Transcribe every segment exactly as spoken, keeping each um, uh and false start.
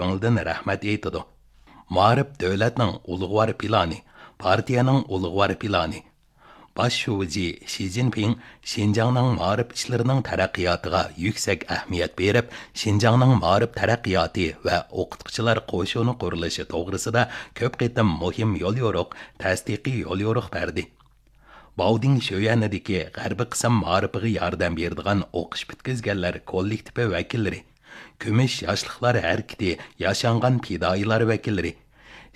كۆڭلىدىن رەھمەت ئېيتىدۇ. مائارىپ دۆلەتنىڭ ئۇلۇغۋار پىلانى، پارتىيەنىڭ ئۇلۇغۋار پىلانى. باش شۇجى شى جىنپىڭ شىنجاڭنىڭ مائارىپ ئىشلىرىنىڭ تەرەققىياتىغا يۈكسەك ئەھمىيەت بېرىپ، شىنجاڭنىڭ مائارىپ تەرەققىياتى ۋە ئوقۇتقۇچىلار قوشۇنى قۇرۇلۇشى توغرىسىدا كۆپ قېتىم مۇھىم يوليورۇق، تەستىقىي يوليورۇق بەردى. باۋدىڭ شۆيەنىدىكى غەربىي قىسىم مائارىپىغا ياردەم بېرىدىغان ئوقۇش پۈتكۈزگەنلەر كوللېكتىپى ۋەكىللىرى، كۈمۈش ياشلىقلار ھەرىكىتى ياشانغان پىدائىيلار ۋەكىللىرى،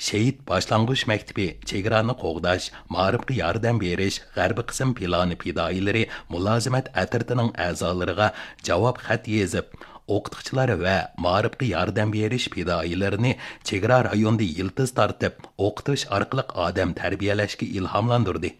شېھىت باشلانغۇچ مەكتىپى چېگرانى قوغداش، مائارىپقا ياردەم بېرىش غەربىي قىسىم پىلانى پىدائىيلىرى مۇلازىمەت ئەترىتىنىڭ ئەزالىرىغا جاۋاب خەت يېزىپ، ئوقۇتقۇچىلار ۋە مائارىپقا ياردەم بېرىش پىدائىيلىرىنى چېگرا رايونىدا يىلتىز تارتىپ، ئوقۇتۇش ئارقىلىق ئادەم تەربىيەلەشكە ئىلھاملاندۇردى.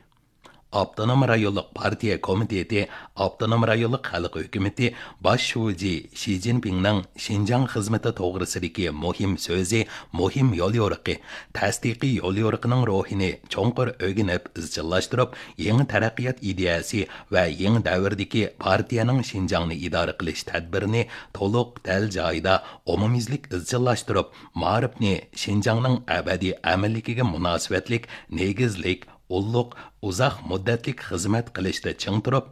ئاپتونوم رايونلۇق پارتىيە كومىتېتى ئاپتونوم رايونلۇق خەلق ھۆكۈمىتى باش شۇجى شى جىنپىڭنىڭ شىنجاڭ خىزمىتى توغرىسىدىكى مۇھىم سۆزى، مۇھىم يوليورۇقى، تەستىقىي يوليورۇقىنىڭ روھىنى چوڭقۇر ئۆگىنىپ ئىزچىللاشتۇرۇپ، يېڭى تەرەققىيات ئىدىيەسى ۋە يېڭى دەۋردىكى پارتىيەنىڭ شىنجاڭنى ئىدارە قىلىش تەدبىرىنى تولۇق، دەل جايىدا، ئومۇميۈزلۈك ئىزچىللاشتۇرۇپ، مائارىپنى شىنجاڭنىڭ ئەبەدىي ئەمىنلىكىگە مۇناسىۋەتلىك نېگىزلىك، ئۇللۇق، ئۇزاق مۇددەتلىك خىزمەت قىلىشتا چىڭ تۇرۇپ،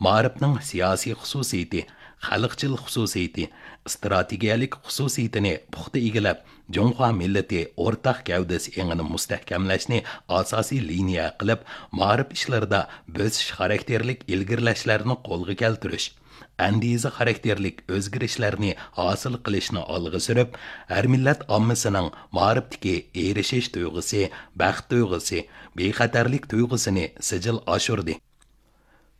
مائارىپنىڭ سىياسىي خۇسۇسىيىتى، خەلقچىل خۇسۇسىيىتى، ئىستراتېگىيەلىك خۇسۇسىيىتىنى پۇختا ئىگىلەپ، جۇڭخۇا مىللىتى ئورتاق گەۋدىسى ئېڭىنى مۇستەھكەملەشنى ئاساسىي لىنىيە قىلىپ، مائارىپ ئىشلىرىدا بۆسۈش خاراكتېرلىك ئىلگىرىلەشلەرنى قولغا كەلتۈرۈش، ئەندىزە خاراكتېرلىك ئۆزگىرىشلەرنى ھاسىل قىلىشنى ئالغا سۈرۈپ، ھەر مىللەت ئاممىسىنىڭ مائارىپتىكى ئېرىشىش تۇيغۇسى، بەخت تۇيغۇسى، بىخەتەرلىك تۇيغۇسىنى سىجىل ئاشۇردى.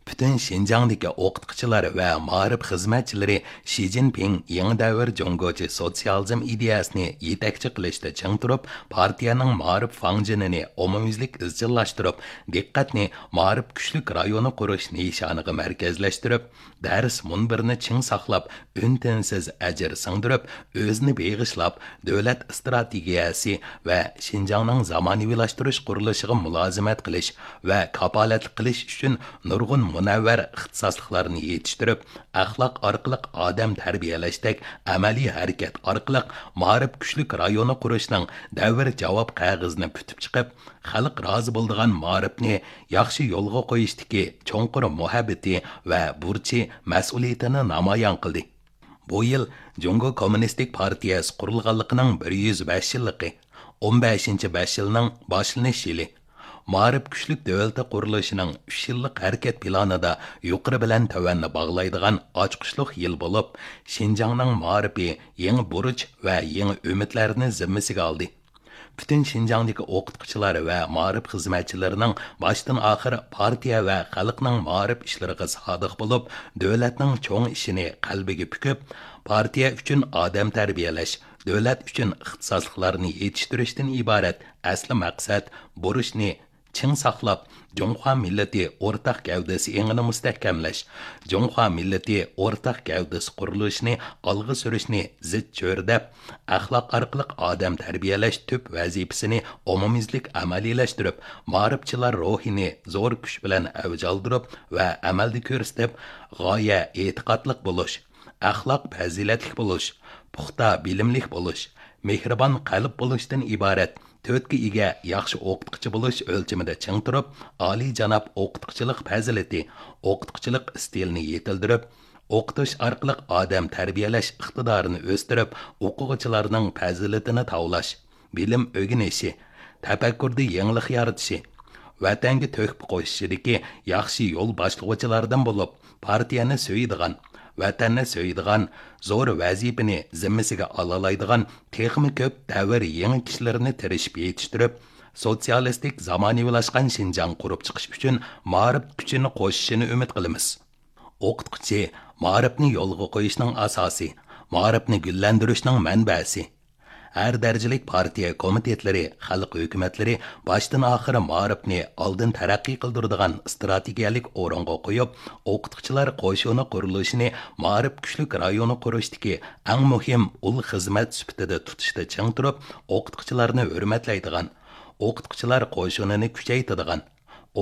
پۈتۈن شىنجاڭدىكى ئوقۇتقۇچىلار ۋە مائارىپ خىزمەتچىلىرى شى جىنپىڭ يېڭى دەۋر جۇڭگوچە سوتسىيالىزم ئىدىيەسىنى يېتەكچى قىلىشتا چىڭ تۇرۇپ، پارتىيەنىڭ مائارىپ فاڭجېنىنى ئومۇميۈزلۈك ئىزچىللاشتۇرۇپ، دىققەتنى مائارىپ كۈچلۈك رايونى قۇرۇش نىشانىغا مەركەزلەشتۈرۈپ، دەرس مۇنبىرىنى چىڭ ساقلاپ، ئۈن-تىنسىز ئەجىر سىڭدۈرۈپ، ئۆزىنى بېغىشلاپ، دۆلەت ئىستراتېگىيەسى ۋە شىنجاڭنىڭ زامانىۋىلاشتۇرۇش قۇرۇلۇشىغا مۇلازىمەت قىلىش ۋە كاپالەتلىك قىلىش ئۈچۈن نۇرغۇن مۇنەۋۋەر ئىختىساسلىقلارنى يېتىشتۈرۈپ، ئەخلاق ئارقىلىق ئادەم تەربىيەلەشتەك ئەمەلىي ھەرىكەت ئارقىلىق مائارىپ كۈچلۈك رايونى قۇرۇشنىڭ دەۋر جاۋاب قەغىزىنى پۈتۈپ چىقىپ، خەلق رازى بولىدىغان مائارىپنى ياخشى يولغا قويۇشتىكى چوڭقۇر مۇھەببىتى ۋە بۇرچى، مەسئۇلىيىتىنى نامايان قىلدى. بۇ يىل جۇڭگو كوممۇنىستىك پارتىيەسى قۇرۇلغانلىقىنىڭ بىر يۈز بەش يىللىقى، ئون بەشىنچى بەش يىلنىڭ باشلىنىش يىلى. مائارىپ كۈچلۈك دۆلىتى قۇرۇلۇشىنىڭ ئۈچ يىللىق ھەرىكەت پىلانىدا يۇقىرى بىلەن تۆۋەننى باغلايدىغان ئاچقۇچلۇق يىل بولۇپ، شىنجاڭنىڭ مائارىپى يېڭى بۇرچ ۋە يېڭى ئۈمىدلەرنى زىممىسىگە ئالدى. پۈتۈن شىنجاڭدىكى ئوقۇتقۇچىلار ۋە مائارىپ خىزمەتچىلىرىنىڭ باشتىن ئاخىر پارتىيە ۋە خەلقنىڭ مائارىپ ئىشلىرىغا سادىق بولۇپ، دۆلەتنىڭ چوڭ ئىشىنى قەلبىگە پۈكۈپ، پارتىيە ئۈچۈن ئادەم تەربىيەلەش، دۆلەت ئۈچۈن ئىختىساسلىقلارنى يېتىشتۈرۈشتىن ئىبارەت ئەسلى مەقسەت، بۇرچنى چىڭ ساقلاپ، جۇڭخۇا مىللىتى ئورتاق گەۋدىسى ئېڭىنى مۇستەھكەملەش، جۇڭخۇا مىللىتى ئورتاق گەۋدىسى قۇرۇلۇشىنى ئالغا سۈرۈشنى زىچ چۆرىدەپ، ئەخلاق ئارقىلىق ئادەم تەربىيەلەش تۈپ ۋەزىپىسىنى ئومۇميۈزلۈك ئەمەلىيلەشتۈرۈپ، مائارىپچىلار روھىنى زور كۈچ بىلەن ئەۋج ئالدۇرۇپ ۋە ئەمەلدە كۆرسىتىپ، غايە ئېتىقادلىق بولۇش، ئەخلاق پەزىلەتلىك بولۇش، پۇختا بىلىملىك بولۇش، مېھرىبان قەلب بولۇشتىن ئىبارەت تۆتكە ئىگە ياخشى ئوقۇتقۇچى بولۇش ئۆلچىمىدە چىڭ تۇرۇپ، ئالىيجاناب ئوقۇتقۇچىلىق پەزىلىتى، ئوقۇتقۇچىلىق ئىستىلىنى يېتىلدۈرۈپ، ئوقۇتۇش ئارقىلىق ئادەم تەربىيەلەش ئىقتىدارىنى ئۆستۈرۈپ، ئوقۇغۇچىلارنىڭ پەزىلىتىنى تاۋلاش، بىلىم ئۆگىنىشى، تەپەككۇردە يېڭىلىق يارىتىشى، ۋەتەنگە تۆھپە قوشۇشىدىكى ياخشى يول باشلىغۇچىلاردىن بولۇپ، پارتىيەنى سۆيىدىغان، ۋەتەننى سۆيىدىغان، زور ۋەزىپىنى زىممىسىگە ئالالايدىغان تېخىمۇ كۆپ دەۋر يېڭى كىشىلىرىنى تىرىشىپ يېتىشتۈرۈپ، سوتسىيالىستىك زامانىۋىلاشقان شىنجاڭ قۇرۇپ چىقىش ئۈچۈن مائارىپ كۈچىنى قوشۇشىنى ئۈمىد قىلىمىز. ئوقۇتقۇچى مائارىپنى يولغا قويۇشنىڭ ئاساسى، مائارىپنى گۈللەندۈرۈشنىڭ مەنبەسى. ھەر دەرىجىلىك پارتىيە كومىتېتلىرى، خەلق ھۆكۈمەتلىرى باشتىن ئاخىر مائارىپنى ئالدىن تەرەققىي قىلدۇرىدىغان ئىستراتېگىيەلىك ئورۇنغا قويۇپ، ئوقۇتقۇچىلار قوشۇنى قۇرۇلۇشىنى مائارىپ كۈچلۈك رايونى قۇرۇشتىكى ئەڭ مۇھىم ئۇل خىزمەت سۈپىتىدە تۇتۇشتا چىڭ تۇرۇپ، ئوقۇتقۇچىلارنى ھۆرمەتلەيدىغان، ئوقۇتقۇچىلار قوشۇنىنى كۈچەيتىدىغان،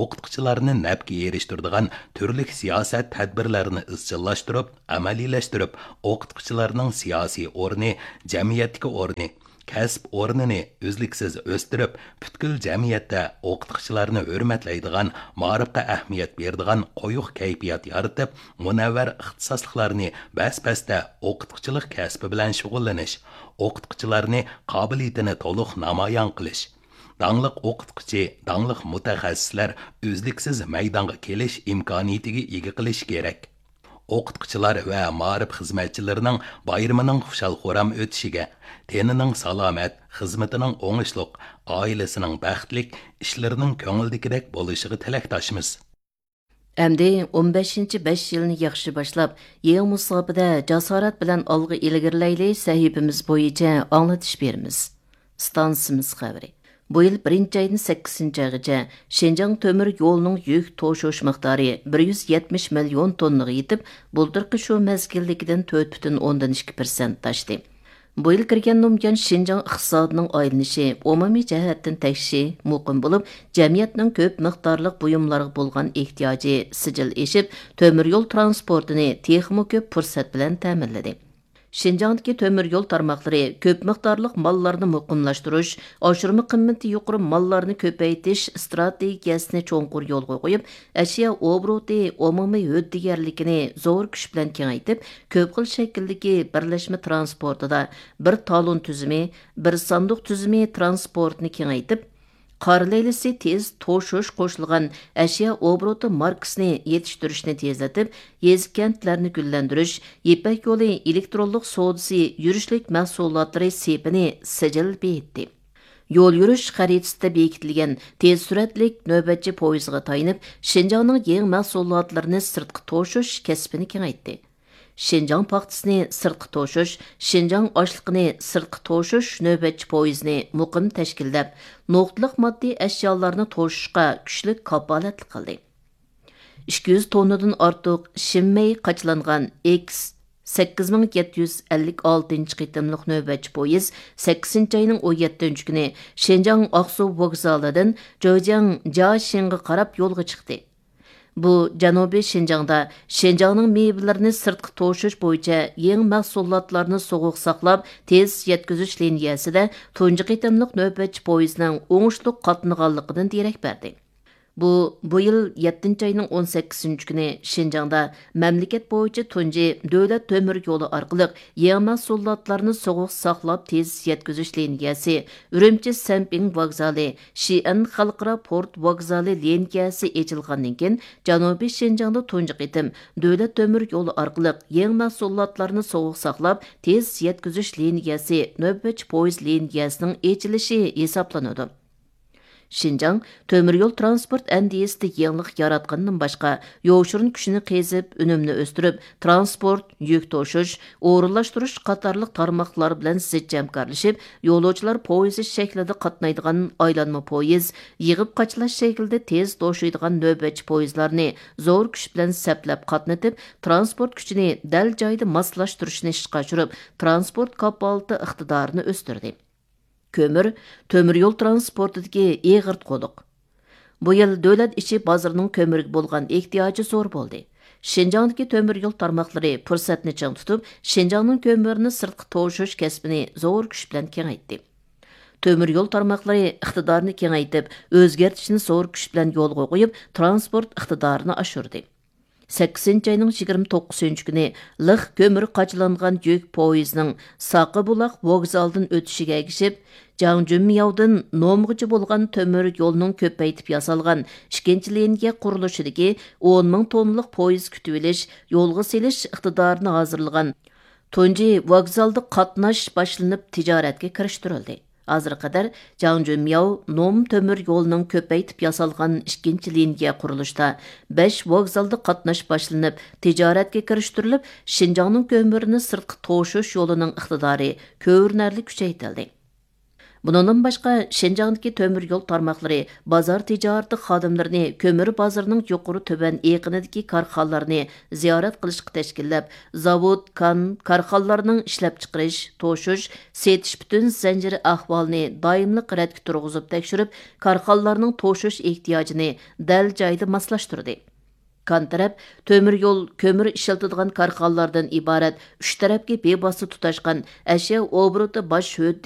ئوقۇتقۇچىلارنى نەپكە ئېرىشتۈرىدىغان تۈرلۈك سىياسەت تەدبىرلەرنى ئىزچىللاشتۇرۇپ، ئەمەلىيلەشتۈرۈپ، ئوقۇتقۇچىلارنىڭ سىياسىي ئورنى، جەمئىيەتتىكى ئورنى، كەسىپ ئورنىنى ئۈزلۈكسىز ئۆستۈرۈپ، پۈتكۈل جەمئىيەتتە ئوقۇتقۇچىلارنى ھۆرمەتلەيدىغان، مائارىپقا ئەھمىيەت بېرىدىغان قويۇق كەيپىيات يارىتىپ، مۇنەۋۋەر ئىختىساسلىقلارنى بەس-بەستە ئوقۇتقۇچىلىق كەسپى بىلەن شۇغۇللىنىش، ئوقۇتقۇچىلارنى قابىلىيىتىنى تولۇق نامايان قىلىش، داڭلىق ئوقۇتقۇچى، داڭلىق مۇتەخەسسىسلەر ئۈزلۈكسىز مەيدانغا كېلىش ئىمكانىيىتىگە ئىگە قىلىشى كېرەك. ئوقۇتقۇچىلار ۋە مائارىپ خىزمەتچىلىرىنىڭ بايرىمىنىڭ خۇشال-خۇرام ئۆتۈشىگە، تېنىنىڭ سالامەت، خىزمىتىنىڭ ئوڭۇشلۇق، ئائىلىسىنىڭ بەختلىك، ئىشلىرىنىڭ كۆڭۈلدىكىدەك بولۇشىغا تىلەكداشمىز. ئەمدى ئون بەشىنچى بەش يىلنى ياخشى باشلاپ، يېڭى مۇساپىدە جاسارەت بىلەن ئالغا ئىلگىرىلەيلى سەھىپىمىز بويىچە ئاڭلىتىش بېرىمىز. ئىستانسىمىز خەۋىرى. بۇ يىل بىرىنچى ئايدىن سەككىزىنچى ئايغىچە شىنجاڭ تۆمۈر يولىنىڭ يۈك توشۇش مىقدارى بىر يۈز يەتمىش مىليون توننىغا يېتىپ، بۇلتۇرقى شۇ مەزگىلدىكىدىن تۆت پۈتۈن ئوندىن ئىككى پىرسەنت ئاشتى. بۇ يىل كىرگەندىن بۇيان شىنجاڭ ئىقتىسادىنىڭ ئايلىنىشى ئومۇمىي جەھەتتىن تەكشى مۇقىم بولۇپ، جەمئىيەتنىڭ كۆپ مىقدارلىق بۇيۇملارغا بولغان ئېھتىياجى سىجىل ئېشىپ، تۆمۈر يول ترانسپورتىنى تېخىمۇ كۆپ پۇرسەت بىلەن تەمىنلىدى. شىنجاڭدىكى تۆمۈر يول تارماقلىرى كۆپ مىقدارلىق ماللارنى مۇقىملاشتۇرۇش، ئاشۇرما قىممىتى يۇقىرى ماللارنى كۆپەيتىش ئىستراتېگىيەسىنى چوڭقۇر يولغا قويۇپ، ئەشيا ئوبوروتى ئومۇمىي ھۆددىگەرلىكىنى زور كۈچ بىلەن كېڭەيتىپ، كۆپ خىل شەكىلدىكى بىرلەشمە ترانسپورتىدا بىر تالون تۈزۈمى، بىر ساندۇق تۈزۈمى ترانسپورتىنى كېڭەيتىپ، قارا لەيلىسى تېز توشۇش قوشۇلغان ئەشيا ئوبوروتى ماركىسىنى يېتىشتۈرۈشنى تېزلىتىپ، يېزا، كەنتلەرنى گۈللەندۈرۈش، يىپەك يولى ئېلېكترونلۇق سودىسى يۈرۈشلۈك مەھسۇلاتلىرى سېپىنى سىجىل بېيىتتى. يول يۈرۈش خەرىتىسىدە بېكىتىلگەن تېز سۈرئەتلىك نۆۋەتچى پويىزىغا تايىنىپ، شىنجاڭنىڭ يېڭى مەھسۇلاتلىرىنى سىرتقا توشۇش كەسپىنى كېڭەيتتى. شىنجاڭ پاختىسىنى سىرتقا توشۇش، شىنجاڭ ئاشلىقىنى سىرتقا توشۇش نۆۋەتچى پويىزىنى مۇقىم تەشكىللەپ، نۇقتىلىق ماددىي ئەشيالارنى توشۇشقا كۈچلۈك كاپالەتلىك قىلدى. ئىككى يۈز توننىدىن ئارتۇق شىنمەي قاچىلانغان ئېكس سەككىز مىڭ يەتتە يۈز ئەللىك ئالتىنچى قېتىملىق نۆۋەتچى پويىز سەككىزىنچى ئاينىڭ ئون يەتتىنچى كۈنى شىنجاڭ ئاقسۇ ۋوگزالىدىن جېجياڭ جياشىڭغا قاراپ يولغا چىقتى. بۇ جەنۇبىي شىنجاڭدا شىنجاڭنىڭ مېۋىلىرىنى سىرتقا توشۇش بويىچە يېڭى مەھسۇلاتلارنى سوغۇق ساقلاپ تېز يەتكۈزۈش لىنىيەسىدە تۇنجى قېتىملىق نۆۋەتچى پويىزنىڭ ئوڭۇشلۇق قاتنىغانلىقىدىن دېرەك بەردى. بۇ، بۇ يىل يەتتىنچى ئاينىڭ ئون سەككىزىنچى كۈنى شىنجاڭدا مەملىكەت بويىچە تۇنجى دۆلەت تۆمۈر يولى ئارقىلىق يېڭى مەھسۇلاتلارنى سوغۇق ساقلاپ تېز يەتكۈزۈش لىنىيەسى، ئۈرۈمچى سەنپىڭ ۋوگزالى، شىئەن خەلقئارا پورت ۋوگزالى لىنىيەسى ئېچىلغاندىن كېيىن، جەنۇبىي شىنجاڭدا تۇنجى قېتىم دۆلەت تۆمۈر يولى ئارقىلىق يېڭى مەھسۇلاتلارنى سوغۇق ساقلاپ تېز يەتكۈزۈش لىنىيەسى نۆۋەتچى پويىز لىنىيەسىنىڭ ئېچىلىشى ھېسابلىنىدۇ. شىنجاڭ تۆمۈر يول ترانسپورت ئەندىزىسىدە يېڭىلىق ياراتقىنىدىن باشقا، يوشۇرۇن كۈچىنى قېزىپ، ئۈنۈمنى ئۆستۈرۈپ، ترانسپورت، يۈك توشۇش، ئورۇنلاشتۇرۇش قاتارلىق تارماقلار بىلەن زىچ ھەمكارلىشىپ، يولۇچىلار پويىزى شەكلىدە قاتنايدىغان ئايلانما پويىز، يىغىپ قاچىلاش شەكلىدە تېز توشۇيدىغان نۆۋەتچى پويىزلارنى زور كۈچ بىلەن سەپلەپ قاتنىتىپ، ترانسپورت كۈچىنى دەل جايىدا ماسلاشتۇرۇشنى ئىشقا ئاشۇرۇپ، ترانسپورت كاپالىتى ئىقتىدارىنى ئۆستۈردى. كۆمۈر، تۆمۈر يول ترانسپورتىدىكى ئېغىر قۇلۇق. بۇ يىل دۆلەت ئىچى بازىرىنىڭ كۆمۈرگە بولغان ئېھتىياجى زور بولدى. شىنجاڭدىكى تۆمۈر يول تارماقلىرى پۇرسەتنى چىڭ تۇتۇپ، شىنجاڭنىڭ كۆمۈرىنى سىرتقا توشۇش كەسپىنى زور كۈچ بىلەن كېڭەيتتى. تۆمۈر يول تارماقلىرى ئىقتىدارنى كېڭەيتىپ، ئۆزگەرتىشنى زور كۈچ بىلەن يولغا قويۇپ، ترانسپورت ئىقتىدارىنى ئاشۇردى. سەككىزىنچى ئاينىڭ يىگىرمە توققۇزىنچى كۈنى لىق كۆمۈر قاچىلانغان يۈك پويىزىنىڭ ساقىبۇلاق ۋوگزالىدىن ئۆتۈشىگە ئەگىشىپ، جاڭجۈنمياۋدىن نومغىچە بولغان تۆمۈر يولنىڭ كۆپەيتىپ ياسالغان ئىككىنچى لىنىيە قۇرۇلۇشىدىكى ئون مىڭ توننىلىق پويىز كۈتۈۋېلىش، يولغا سېلىش ئىقتىدارىنى ھازىرلىغان تۇنجى ۋوگزالدا قاتناش باشلىنىپ تىجارەتكە كىرىشتۈرۈلدى. ھازىرغا قەدەر جاڭجۈنمياۋ نوم تۆمۈر يولىنىڭ كۆپەيتىپ ياسالغان ئىككىنچى لىنىيە قۇرۇلۇشىدا بەش ۋوگزالدا قاتناش باشلىنىپ تىجارەتكە كىرىشتۈرۈلۈپ، شىنجاڭنىڭ كۆمۈرىنى سىرتقا توشۇش يولىنىڭ ئىقتىدارى كۆرۈنەرلىك كۈچەيتىلدى. بۇنىڭدىن باشقا، شىنجاڭدىكى تۆمۈر يول تارماقلىرى بازار تىجارىتى خادىملىرىنى كۆمۈر بازىرىنىڭ يۇقىرى تۆۋەن ئېقىنىدىكى كارخانىلارنى زىيارەت قىلىشقا تەشكىللەپ، زاۋۇت، كان، كارخانىلارنىڭ ئىشلەپچىقىرىش، توشۇش، سېتىش پۈتۈن زەنجىرى ئەھۋالىنى دائىملىق رەتكە تۇرغۇزۇپ تەكشۈرۈپ، كارخانىلارنىڭ توشۇش ئېھتىياجىنى دەل جايىدا ماسلاشتۇردى. كان تەرەپ تۆمۈر يول، كۆمۈر ئىشلىتىدىغان كارخانىلاردىن ئىبارەت ئۈچ تەرەپكە بىۋاسىتە تۇتاشقان ئەشيا ئوبوروتى باش ھۆددىگە